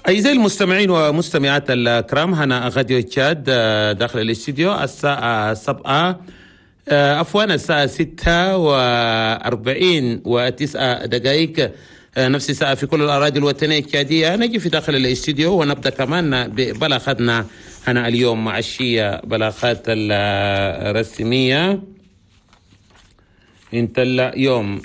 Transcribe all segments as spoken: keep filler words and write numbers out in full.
أعزائي المستمعين ومستمعات الكرام، هنا غاديو تشاد داخل الاستديو الساعة سبعة، عفوا الساعة ستة وأربعين وتسعة دقائق، نفس الساعة في كل الأراضي الوطنية التشادية. نجي في داخل الاستديو ونبدأ كمان ببلاغاتنا هنا اليوم عشية، بلاغات الرسمية انت اليوم.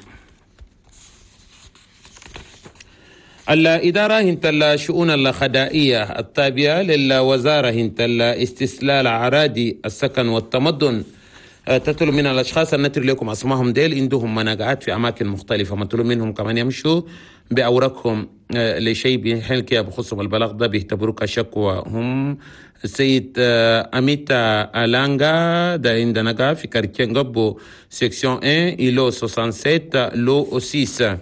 الإدارة هنت الشؤون الخدائية التابعة للوزارة هنت الاستسلال عرادي السكن والتمدن تطلب من الأشخاص النتر لكم أسمائهم ديل عندهم مناقعات في أماكن مختلفة، مطلوب منهم كمان يمشوا بأوراقهم لشيء بحين كده بخصهم البلاغ ده بيعتبروه كشكوى. هم السيد أميتا ألانغا ده عندنا في quartier نغبو section واحد îlot سبعة وستين lot ستة.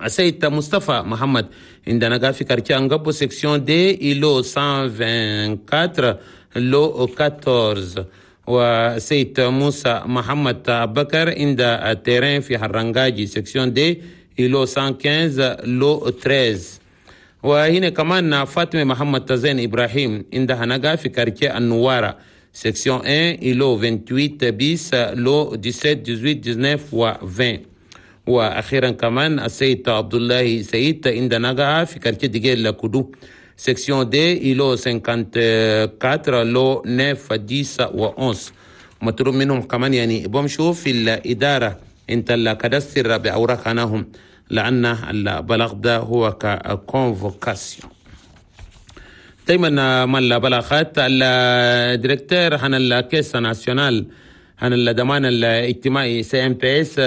السيد مصطفى محمد عندنا في quartier نغبو section deux îlot مية وأربعة وعشرين lot أربعة عشر. وسيد موسى محمد بكر عند terrain في حرنجاجي section deux îlot مية وخمسة عشر lot ثلاثة عشر. وهنا كمان فاطمة محمد تزين إبراهيم عندها نجا في quartier النوارة section واحد îlot ثمانية وعشرين bis lot سبعة عشر ثمانية عشر تسعة عشر و عشرين. واخيرا كمان السيد عبد الله سيد عند نجا في quartier ديجيل كودو section deux îlot أربعة وخمسين lot تسعة عشر عشرة و إحدى عشر. مطلوب منهم كمان يعني بمشوا في الإدارة انت ال cadastre بأوراقناهم، لأن البلاغ ده هو ك convocation. دايما ما البلاغات ال directeur عن ال caisse nationale عن الضمان الاجتماعي CNPS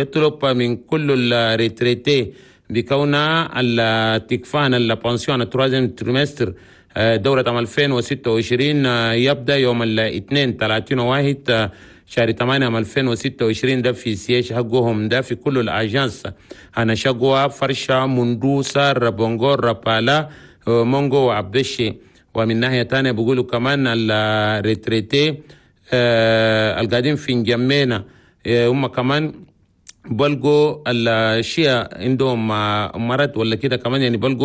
يطلب من كل ال retraités بكون التكفان ال pension ال troisième trimestre دورة عام ألفين وستة وعشرين يبدأ يوم الاثنين ثلاثين واحد شهر ثمانية عام ألفين وستة وعشرين، ده في siège حقهم، ده في كل ال agences هنا شقوة، فرشة، مندوسة، ربونغور، ربالا، مونغو وعبشي. ومن ناحية تانية بيقولوا كمان ال retraités القاعدين في نجمينا هم كمان بلقوا الشيء عندهم مرض ولا كده كمان يعني بلقوا